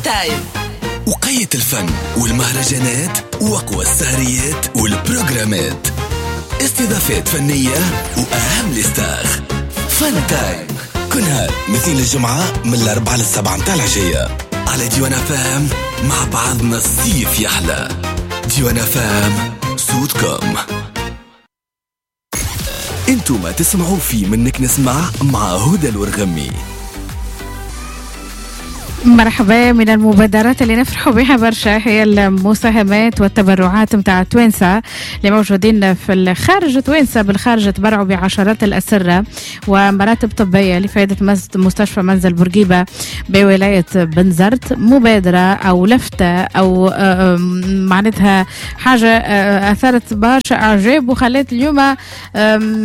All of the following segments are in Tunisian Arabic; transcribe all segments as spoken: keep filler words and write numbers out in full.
تايم. وقية الفن والمهرجانات وأقوى السهريات والبروجرامات، استضافات فنية وأهم les stars. فن تايم كل نهار مثل الجمعة من الأربعة للسبعة متاع العشية على ديوان فام. مع بعضنا الصيف يحلى. ديوان فام صوتكم. انتم تسمعوا في منك نسمع مع هدى الورغمي. مرحبا. من المبادرات اللي نفرحوا بها برشا هي المساهمات والتبرعات متاع توانسة اللي موجودين في الخارج. توانسة بالخارج تبرعوا بعشرات الأسرة ومراتب طبية لفائدة مستشفى منزل بورقيبة بولاية بنزرت. مبادرة أو لفتة أو معناتها حاجة أثارت برشا أعجاب وخلت اليوم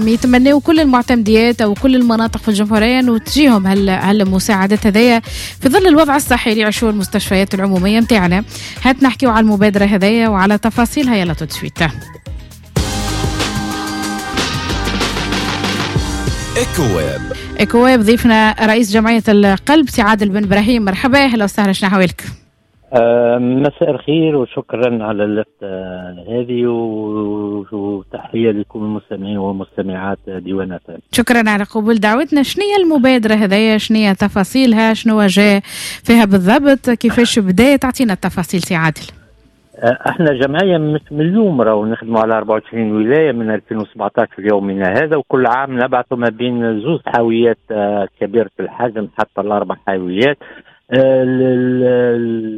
يتمنوا كل المعتمديات أو كل المناطق في الجمهورية أنه تجيهم هالمساعدات هذيا في ظل الوضع الصحي اللي يعيشوه المستشفيات العمومية متاعنا. هات نحكيو على المبادرة هذيا وعلى تفاصيلها. يلا tout de suite. ايكو ويب. ايكو ويب ضيفنا رئيس جمعية القلب سي عادل بن ابراهيم. مرحبا، اهلا وسهلا، شنو احوالك؟ أه مساء الخير وشكرا على اللفتة هذه وتحية لكم المستمعين والمستمعات ديوان فام. شكرا على قبول دعوتنا. شنو هي المبادرة هذيا؟ شنو هي تفاصيلها؟ شنو جاء فيها بالضبط؟ كيفاش بدات؟ تعطينا التفاصيل سي عادل. احنا جمعية مش من اليوم، راهو نخدموا على أربعة وعشرين ولاية من ألفين وسبعطاش ليومنا هذا، وكل عام نبعثوا ما بين زوج حاويات كبيرة الحجم حتى الأربع حاويات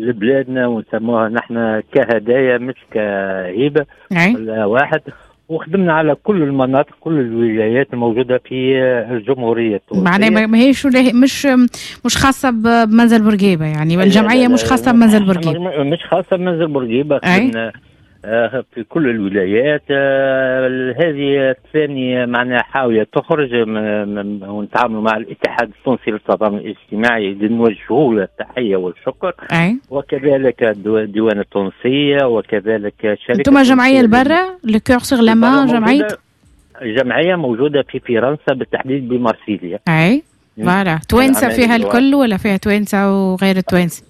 لبلادنا، ونسموها نحن كهدايا مش كهبة ولا واحد. وخدمنا على كل المناطق كل الولايات الموجودة في الجمهورية التونسية. معناها ما هيش مش مش خاصة بمنزل بورقيبة، يعني الجمعية مش خاصة بمنزل بورقيبة. مش خاصة بمنزل بورقيبة، خدمنا في كل الولايات. هذه الثانية معناها حاوية تخرج ونتعامل مع الاتحاد التونسي للتضامن الاجتماعي اللي نوجهه له التحية والشكر. أي. وكذلك الديوان التونسية وكذلك شركة. انتم جمعية البرة Le Cœur sur la main، جمعية جمعية موجودة في فرنسا بالتحديد بمارسيليا. أي voilà. توانسة فيها الكل ولا فيها توانسة وغير التوانسة؟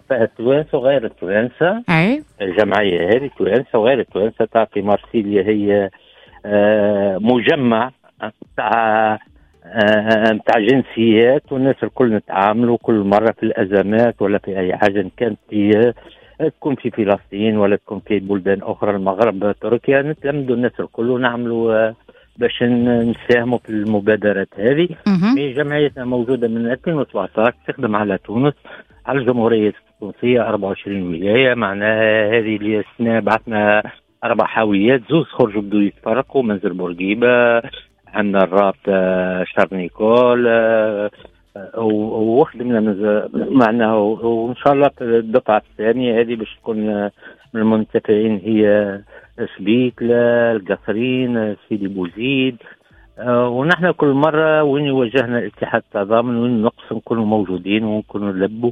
فيها التوانسة وغير التوانسة. أي. الجمعية هذه توانسة وغير التوانسة. تاع في مارسيليا هي آه مجمع تاع تاع جنسيات، والناس الكل نتعاملوا كل مرة في الأزمات ولا في أي حاجة، كانت في تكون في فلسطين ولا تكون في بلدان أخرى، المغرب، تركيا، نتلمدوا الناس الكل ونعملوا باش نساهموا في المبادرات هذه. جمعيتنا موجودة من ألفين وسبعطاش تخدم على تونس، على الجمهورية التونسية أربعة وعشرين ولاية. معناها هذه السنة بعثنا أربع حاويات، زوز خرجوا بدو يتفرقوا، منزل بورقيبة، عندنا الرابطة شارنيكول، وخدمنا معناها. وإن شاء الله في الدفعة الثانية هذه باش تكون من المنتفعين هي سبيكلة، القصرين، سيدي بوزيد. ونحن كل مرة وين يواجهنا الاتحاد التضامن وين نقص نكونوا موجودين ونكونوا نلبوا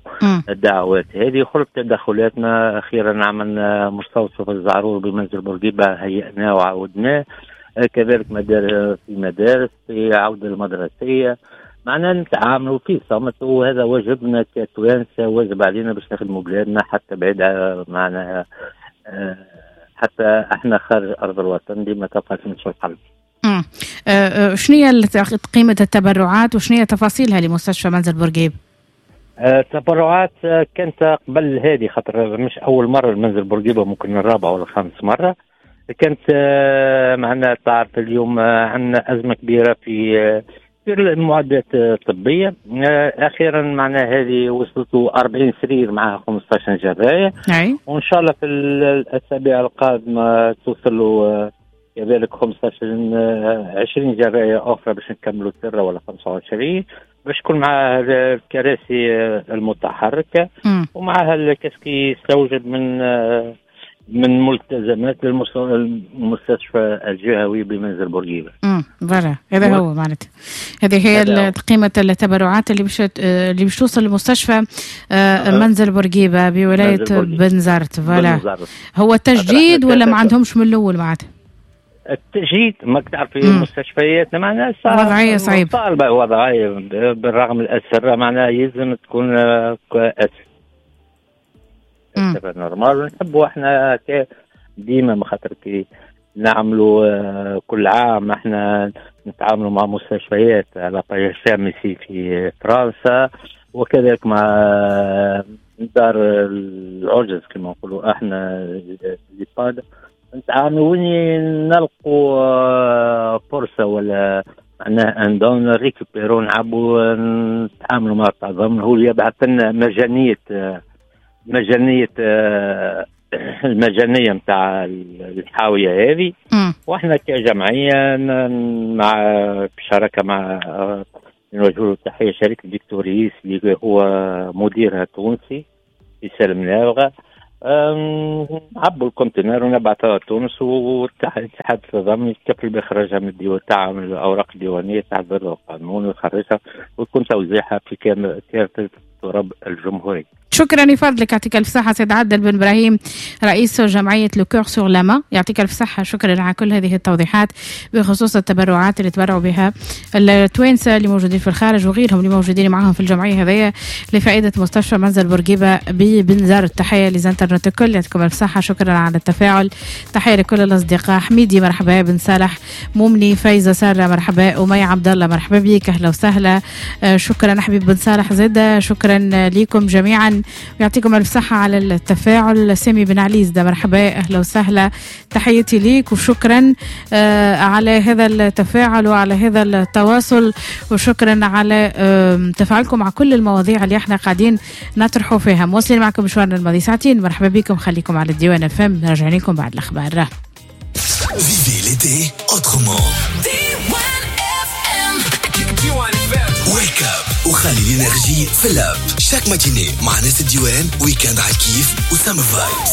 الدعوات هذه. خلق تدخلاتنا أخيرا عملنا مستوصف الزعرور بمنزل بورقيبة، هيئناه وعودناه، كذلك مدارس في مدارس في عودة المدرسية. معنا نتعاملوا في صمت، وهذا واجبنا كتوانسة، واجب علينا باش نخدموا بلادنا حتى بعيد معنا، حتى احنا خارج أرض الوطن ديما تبقى في القلب. امم شنو هي قيمة التبرعات وشنو هي تفاصيلها لمستشفى منزل بورقيبة؟ التبرعات كانت قبل هذه، خاطر مش أول مرة المنزل بورقيبة، ممكن الرابعة ولا الخامس مرة كانت. معنا تعرف اليوم عندنا أزمة كبيرة في في المعدات الطبية. أخيرا معنا هذه وصلت أربعين سرير معها خمسة عشر جراية، وإن شاء الله في الأسابيع القادمة توصلوا كذلك خمسة عشر عشرين جراية أخرى باش نكملوا السرة ولا خمسة وعشرين، باش تكون مع الكراسي المتحركة ومعها الكاسكي يستوجب من من ملتزمات للمستشفى الجهوي بمنزل بورقيبة. امم voilà، هذا هو معناتها، هذه هي قيمة التبرعات اللي باش اللي باش توصل لمستشفى منزل بورقيبة بولاية بنزرت. voilà، هو التجديد ولا ما عندهمش من الأول معناتها؟ التجديد ما تعرف في المستشفيات معناها وضعية صعيبة، طالبة وضعية بالرغم من الأسرة، معناها يلزم تكون normal. ونحبوا احنا ديما ما خاطر كي نعملوا آه، كل عام احنا نتعاملوا مع مستشفيات على في في فرنسا، وكذلك مع دار العجز كما نقولوا احنا l'EHPAD، نتعاملوا وين نلقوا آه، فرصة ولا معناها un don récupérer نعبوا نتعاملوا مع التضامن، هو اللي يبعث لنا مجانية مجانية المجانية نتاع الحاويه هذه، واحنا كجمعية مع بشراكه مع نوجه له تحية شركة فيكتوريس اللي هو مديرها تونسي في سالم نابغه، نعبوا ال conteneur ونبعثها تونس، والاتحاد التضامن يتكفل باخراجها من الديوان تاع الاوراق الديوانيه تحت القانون ويخرجها ويكون توزيعها في كافة تراب الجمهورية. شكرا لفضلك، يعطيك الف صحة سيد عادل بن ابراهيم رئيس جمعية le cœur sur la main، يعطيك الف صحه، شكرا على كل هذه التوضيحات بخصوص التبرعات اللي تبرعوا بها التوانسة اللي موجودين في الخارج وغيرهم اللي موجودين معاهم في الجمعية هذيا لفائدة مستشفى منزل بورقيبة ببنزرت. تحية les internautes الكل، يعطيكم الف صحه، شكرا على التفاعل. تحية لكل الاصدقاء، حميدي مرحبا، بن صالح مومني، فايزه ساره مرحبا، امية عبد الله مرحبا بك، اهلا وسهلا، آه، شكرا حبيب بن صالح زاده، شكرا لكم جميعا ويعطيكم الف صحة على التفاعل. سامي بن علي زاده مرحبا، اهلا وسهلا، تحياتي ليك وشكرا آه، على هذا التفاعل وعلى هذا التواصل، وشكرا على تفاعلكم مع كل المواضيع اللي احنا قاعدين نطرحوا فيها. مواصلين معكم مشوارنا الماضي ساعتين، مرحبا بكم، خليكم على الديوان اف ام، راجعين لكم بعد الاخبار. Vivez l'été autrement. Wake up وخلي l'énergie في l'app chaque matinée مع ناس الديوان، week-end على الكيف و summer vibes.